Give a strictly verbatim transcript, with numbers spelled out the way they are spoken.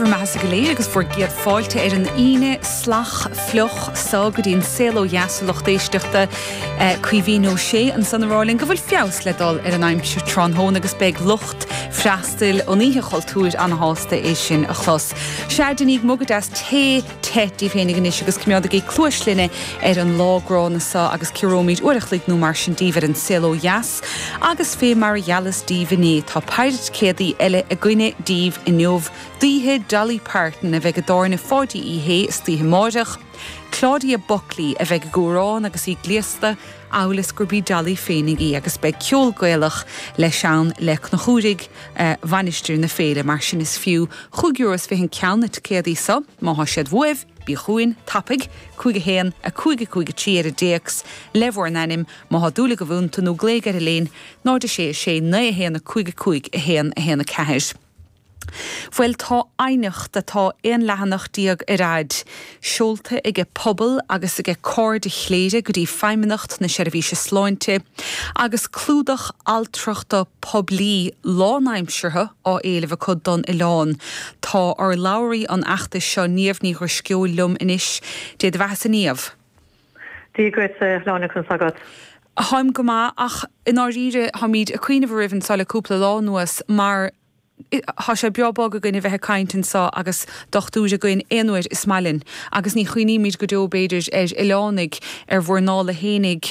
bhur mbeatha go léir agus bhur gcéad fáilte ar an Aoine salach fliuch so go dtí an Saol Ó Dheas a lucht éisteachta Caoimhín Ó Sé ansan ag rá linn go bhfuil feabhas le dul ar an aimsir tráthnóna agus beidh lucht freastail an Oíche Chultúir an-shásta é sin a chlos. Sea déanaigí mug deas tae te daoibh féinig anois agus coimeádaigí cluas linne ar an lá gránna seo agus ciaróimid uair a chloig nó mar sin daoibh ar an Saol Ó Dheas agus fé mar a gheallas daoibh inné tá péire ticéadaí eile againne daoibh inniu d'oíche Dolly Parton a bheidh i dTábhairne Pháidí Uí Shé istoíche amárach, Claudia Buckley a bheidh ag amhrán agus í gléasta amhail is gurb í Dolly féinig í agus beidh ceol Gaelach leis ann le Conchúraigh eh, Mhainistir na Féile mar sin is fiú chúig euro is fiche an ceann na ticéadaí seo má thá siad uaibh bí chugainn tapaidh cúig a haon a cúig a cúig a trí ar an dtéacs le bhur n-ainm má thá dúil agaibh iontu nó glaoigh ar an líne náid a sé a sé naoi a haon a cúig a cúig a haon a haon a ceathair. Bhuel tá aighneacht atá aon leathanach déag ar fhad, seolta aige pobal agus aige Cairde Chléire go dtí Feidhmeannacht na Seirbhíse Sláinte, agus clúdach altrachta poiblí lánaimseartha á éileamh acu don oileán. Tá urlabhraí an fheachtais seo Niamh Ní Dhrisceoil liom anois, Dé do bheatha-sa Niamh. Dia duit a Shláine conas agat. Táim go maith ach i ndáiríre táimid ag cuimhneamh oraibh anseo le cúpla lá anuas mar Tá sé breá bog againn a bheith ag caint anseo agus dochtúir againn aon uair is maith linn agus ní chuimhnímid go deo b'fhéidir ar oileánaigh ar bhur ndála fhéinig